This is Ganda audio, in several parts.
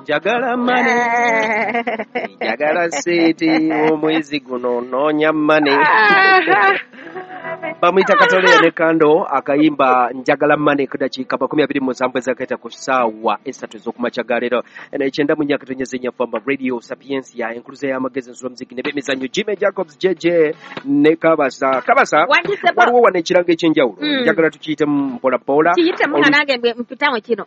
Njagala money, njagala sente. Omwezi guno noonya money. Bamuyita Kataleya ne Kandle, akayimba "Njagala Money", ku dakiika 27 ezakaita ku ssaawa 3 ez'okumakya ga leero. 94.4 Famba Radio Sapiensia, enkuluza y'amagezi, ensula, muziki ne b'emizannyo. Jimmy Jacobs JJ ne Kabasa. Kabasa, waliwo wano ekirango ekyenjawulo. Njagala tukiyitemu mpolampola. Kiyitemu nga nange mpitamu kino.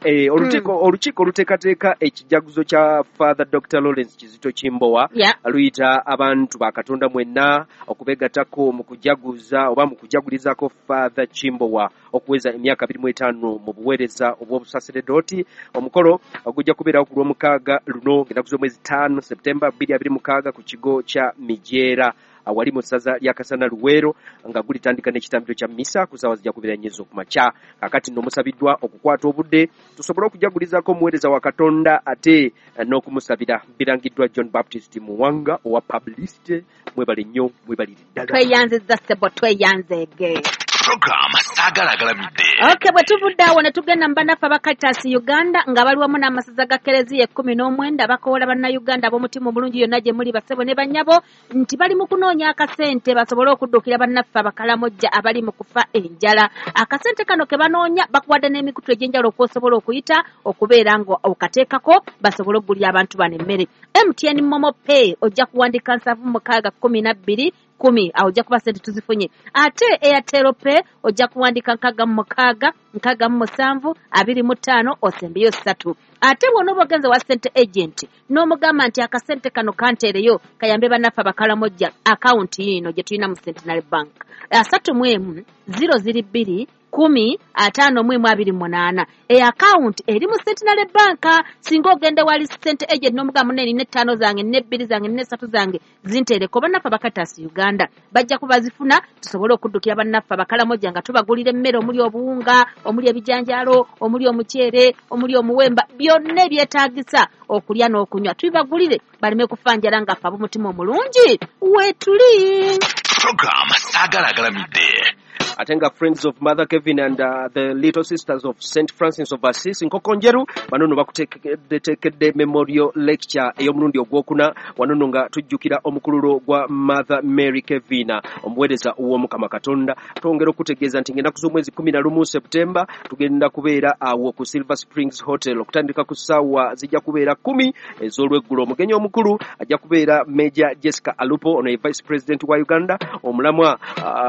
Olukiiko oluteekateeka ekijaguzo kya Father Dr Lawrence Kizito Kimbowa luyita abantu ba Katonda mwenna okubegattako mu kujaguza oba mu kujagulizaako Father Kimbowa okuweza emyaka 25 mu buweereza obw'obusaseredooti. Omukolo gujja kubeerawo ku Lwomukaaga luno, ng'ennaku z'omwezi 5 Septemba 2026, ku kigo kya Mijeera awali mu ssaza lya Kasana Luweero, nga gulitandika n'ekitambiro kya misa ku ssaawa zijja kubeera 4 ez'okumakya. Kakati nno musabiddwa okukwata obudde tusobole okujagulizaako omuweereza wa Katonda ate n'okumusabira. Birangiddwa John Baptist Muwanga owa publicity. Mwebale nnyo, mwebalire ddala. Tweyanziza ssebo, tweyanzeege. Program Saagala Agalamidde. Okay, bwe tuvudde awo ne tugenda mu bannaffe aba Caritas Uganda, nga bali wamu n'amasaza ga Kereziya 19, bakoola Bannayuganda ab'omutima omulungi yonna gye muli, basebo ne bannyabo, nti bali mu kunoonya akasente basobole okuddukira bannaffe Abakalamojja abali mu kufa enjala. Akasente kano ke banoonya, bakuwadde n'emikutu egy'enjawulo okwosobola okuyita okubeera nga okateekako basobole okugulira abantu bano emmere. MTN MoMo Pay, ojja kuwandika 76 12 10, awo ojja kuba sente tuzifunye. Ate Airtel Pay, ojja kuwandika 66 67 25, osembeyo 3. Ate bw'onooba ogenze wa sente agent n'omugamba nti akasente kano kanteereyo kayambe bannaffe Abakalamojja, akawunti yiino gye tulina mu Centenary Bank, 31 0 2 10 51 28. Eyo akawunti eri mu Centenary Bank. Singa ogenda wali sente agent n'omugamba, "Munne, nina 5 zange, nina 2 zange, nina 3 zange, zinteereko bannaffe aba Caritas Uganda," bajja kubazifuna tusobole okuddukira bannaffe Abakalamojja nga tubagulira emmere omuli obuwunga, omuli ebijanjaalo, omuli omuceere, omuli omuwemba, byonna ebyetaagisa okulya n'okunywa, tubibagulire baleme kufa njala, nga ffe ab'omutima omulungi weetuli. Program Saagala Agalamidde. Ate nga Friends of Mother Kevin and the Little Sisters of St Francis of Assisi Nkokonjeru, bano nno bakuteekedde memorial lecture ey'omulundi ogwokuna. Wano nno nga tujjukira omukululo gwa Mother Mary Kevin, omuweereza w'Omukama Katonda. Twongera okutegeeza nti ng'ennaku z'omwezi 11 Septemba tugenda kubeera awo ku Silver Springs Hotel okutandika ku ssaawa zijja kubeera 10 ez'olweggulo. Omugenyi omukulu ajja kubeera Major Jessica Alupo, ono ye Vice President wa Uganda. Omulamwa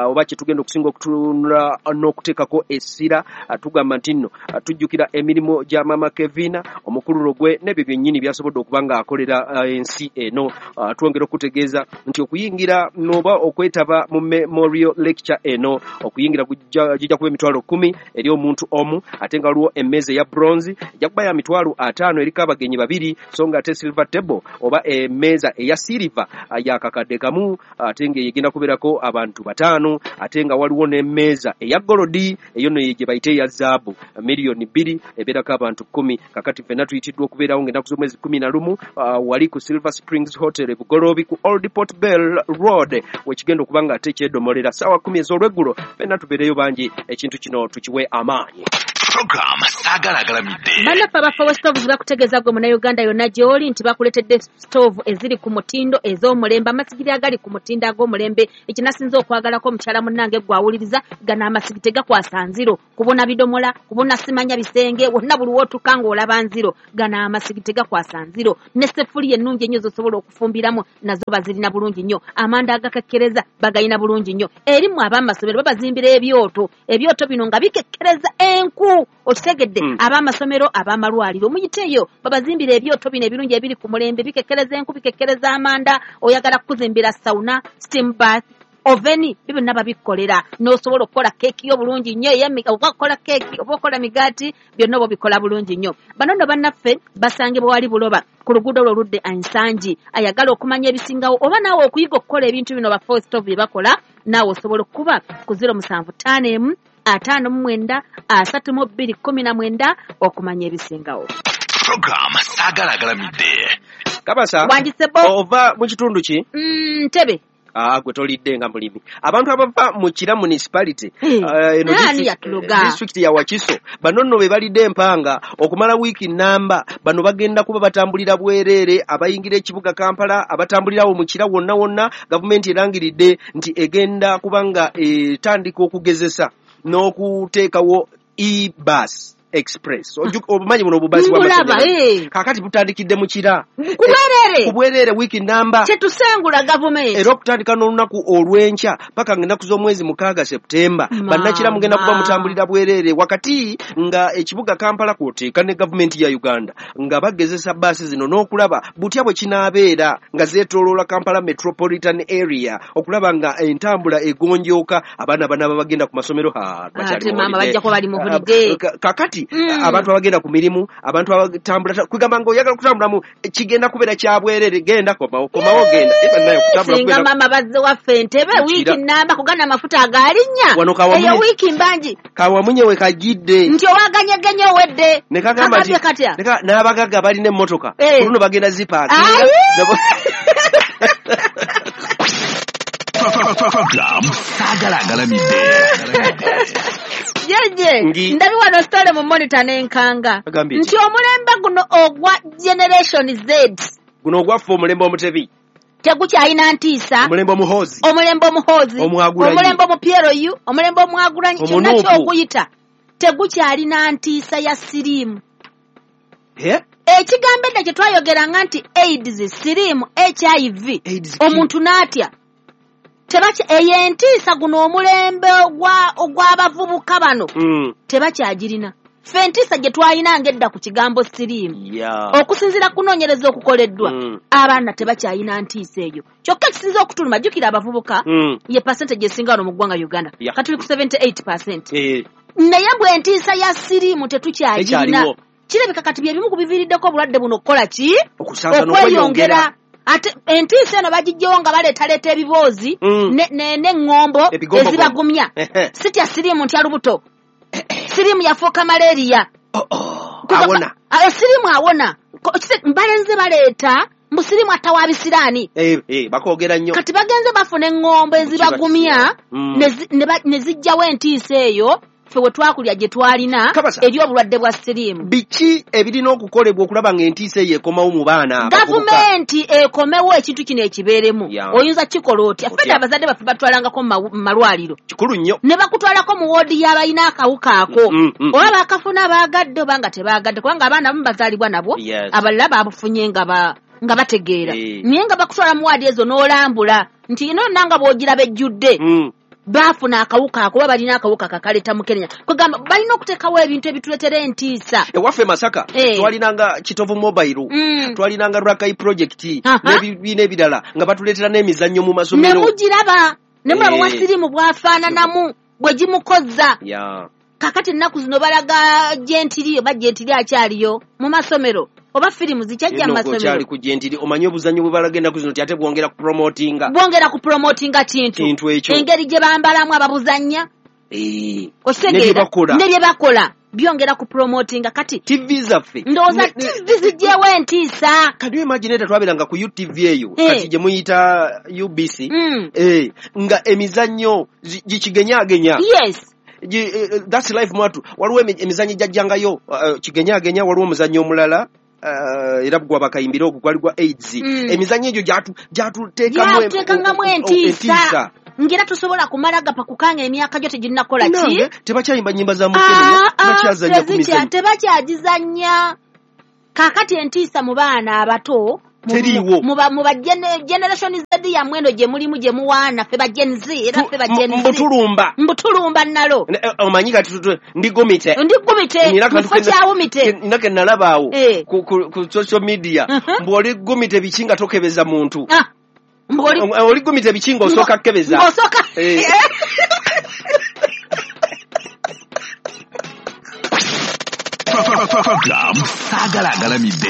oba kye tugenda okusinga okutunula n'okuteekako essira, tugamba nti nno tujjukira emirimu gya Mama Kevina, omukululo gwe n'ebyo byennyini byasobodde okuba ng'akolera ensi eno. Twongera okutegeeza nti okuyingira noba okwetaba mu memorial lecture eno, okuyingira gijja kuba 100,000 eri omuntu omu, ate nga waliwo emmeeza eya bronze ejja kuba ya 50,000, eriko abagenyi babiri, so nga ate silver table oba emmeeza eya silver ya 1,000, ate nga egenda kubeerako abantu bataano. Ate nga waliwo n'emmeeza eya gold, eyo nno gye bayita eya zaabu, 2,000,000, ebeerako abantu 10. Kakati ffenna tuyitiddwa okubeerawo ng'ennaku z'omwezi 11 wali ku Silver Springs Hotel e Bugoloobi ku Old Port Bell Road, wekigenda okuba nga ate kyedomolera ssaawa 10 ez'olweggulo. Ffenna tubeereyo bangi, ekintu kino tukiwe amaanyi. Program Saagala Agalamidde. Bannaffe aba Fawe Stoves bakutegeeza gwe Munnayuganda yonna gy'oli nti bakuleetedde stove eziri ku mutindo, ez'omulembe, amasigiri agali ku mutindo ag'omulembe. Ekinasinza okwagalako, omukyala munnange gwawuliriza, gano amasigi tegakwasa nziro kubona bidomola, kubona simanya bisenge wonna, buli wootuka ng'olaba nziro. Gano amasigi tegakwasa nziro. Ne sefuliya ennungi ennyo z'osobola okufumbiramu nazo bazirina bulungi nnyo. Amanda agakekkereza bagayina bulungi nnyo. Erimu ab'amasomero babazimbira ebyoto, ebyoto bino nga bikekkereza enku, okitegedde? Ab'amasomero, ab'amalwaliro, muyiteeyo babazimbira ebyoto bino ebirungi ebiri ku mulembe, bikekkereza enku, bikekkereza amanda. Oyagala kukuzimbira sauna, steam bath, oven, byo byonna babikolera, n'osobola okukola keeki yo bulungi nnyo, oba okukola keeki oba okola migaati, byonna oba obikola bulungi nnyo. Bano nno bannaffe basangibwa wali Buloba ku luguudo lwo oludde Ensangi. Ayagala okumanya ebisingawo oba naawe okuyiga okukola ebintu bino ba Stove bye bakola, naawe osobola okukuba ku 0751 59 32 19 okumanya ebisingawo. Program Saagala Agalamidde. Kabasa. Wangisebo. Ova mu kitundu ki? Ntebe. Gwe tolidde nga mulimi. Abantu abava mu Kira municipality, eno district ya Wakiso, bano nno be balidde empanga okumala wiiki namba. Bano bagenda kuba batambulira bwereere, abayingira ekibuga Kampala, abatambulirawo mu Kira wonna wonna. Gavumenti erangiridde nti egenda kubanga etandika okugezesa n'okuteekawo e-bus express. Obumanyi buno obubazi bw'amasanyalaze kaakati butandikidde mu Kira ku bwereere wiiki namba. Kyetusengula gavumenti era okutandika n'olunaku olw'enkya paka ng'ennaku z'omwezi 6 Septemba, bannakira mugenda kuba mutambulira bwereere, wakati nga ekibuga Kampala kwoteeka ne gavumenti ya Uganda nga bagezesa baasi zino n'okulaba butya bwe kinaabeera nga zeetooloola Kampala metropolitan area, okulaba nga entambula egonjooka. Abaana banaaba bagenda ku masomero kakati abantu abagenda ku mirimu, abantu abatambula, kwegamba ng'oyagala kutambulamu kigenda kubeera kya bwerere. Genda komawo, komawo genda. Singa mama bazze waffe Entebbe wiiki namba kugana amafuta agalinnya eyo wiiki mbangi kawamunye we kajidde nti owaganyegenye owedde nekagamba katya n'abagagga balina emmotoka oluno bagenda zipaakinga. Program Saagala Agalamidde. Jeje, ndabi wano story mu monitor n'enkanga nti omulembe guno ogwa Generation Z, guno ogwaffe omulembe omutebi, tegukyalina ntiisa, omulembe omuhoozi, omulembe omuhoozi, omulembe omuPLU, omulembe omwagulanyi, kyonna ky'okuyita tegukyalina ntiisa ya siriimu. Ekigambo edda kye twayogeranga nti AIDS, siriimu, HIV, omuntu n'atya. Eyo entiisa guno omulembe ogw'abavubuka bano tebakyagirina. Ffe entiisa gye twayinanga edda ku kigambo siriimu, okusinziira kunoonyereza okukoleddwa, abaana tebakyayina ntiisa eyo. Kyokka ekisinza okutuluma, jjukira abavubuka ye percentage esinga wano mu ggwanga Uganda, katuli ku 78%. Naye bwe entiisa ya siriimu tetukyagirina, kirabika kati bye bimu ku biviiriddeko obulwadde buno okukola ki? Okweyongera. Ate entiisa eno bagijjewo nga baleetaleeta ebiboozi n'eŋŋombo ezibagumya. Sitya siriimu ntya lubuto. Siriimu yafuuka malaria. Awona. Siriimu awona. Balenze baleeta mbu siriimu attawa bisiraani. Bakoogera nnyo. Kati bagenze bafuna eŋŋombo ezibagumya ne zijjawo entiisa eyo ffe we twakulya gye twalina eri obulwadde bwa siriimu. Biki ebirina okukolebwa okulaba ng'entiisa eyo ekomawo mu baana? Gavumenti ekomewo ekintu kino ekibeeremu. Oyinza kikola otya? Ffe abazadde baffe batwalangako mu malwaliro. Kikulu nnyo. Ne bakutwalako mu woodi y'abalina akawuka ako. Oba bakafuna baagadde oba nga tebaagadde, kubanga abaana abamu bazaalibwa nabwo, abalala babufunye nga bategeera. Naye nga bakutwala mu waadi ezo n'olambula nti ino nanga bw'ogiraba ejjudde. Baafuna akawuka ako oba balina akawuka kakaleeta mukenenya. Kwegamba balina okuteekawo ebintu ebituleetera entiisa. Ewaffe Masaka twalinanga Kitovu Mobile, twalinanga Rakai Project n'ebibiina ebirala nga batuleetera n'emizannyo mu masomero. Ne mugiraba, ne mulaba wa siriimu bw'afaananamu bwe gimukozza. Kaakati ennaku zino balaga gyentiri oba gyentiri akyaliyo mu masomero. Oba firimu zikyajja mu masomero. Okyali ku gyentiri, omanyi obuzannyo bwe balaga ennaku zino nti ate bwongera ku promotinga. Bwongera ku promotinga kintu. Ekyo. Engeri gye bambalamu ababuzannya. Okitegeera. Ne bye bakola. Byongera ku promotinga kati. TV zaffe. Ndowooza TV zijjewo entiisa. Can you imagine edda twabeeranga ku UTV eyo kati gye muyita UBC. Nga emizannyo gikigenyaagenya. Yes. That's life mwatu. Waliwo emizannyo gyajjangayo kigenyaagenya, waliwo omuzannyo omulala era gwa bakayimbira ogwo gwali gwa AIDS. Emizannyo egyo gyatuteekamu entiisa. Ngera tusobola kumala gapa kukanga emyaka gyo teginnakola ki? Tebakyayimba nnyimba za mukenenya, tebakyazannya ku mizannyo. Tebakyagizannya. Kaakati entiisa mu baana abato teriiwo. Mu ba Generation Z yammwe eno gye mulimu gye muwaana, ffe ba Gen Z era ffe ba Gen Z. Mbutulumba. Mbutulumba nalo. Omanyi kati ndigumite. Ndigumite. Mufo kyawumite. Nina ke nalaba awo ku social media. Mbu oligumite biki nga tokebeza muntu. Oligumite biki nga osooka kukebeza. Ng'osooka. Program Saagala Agalamidde.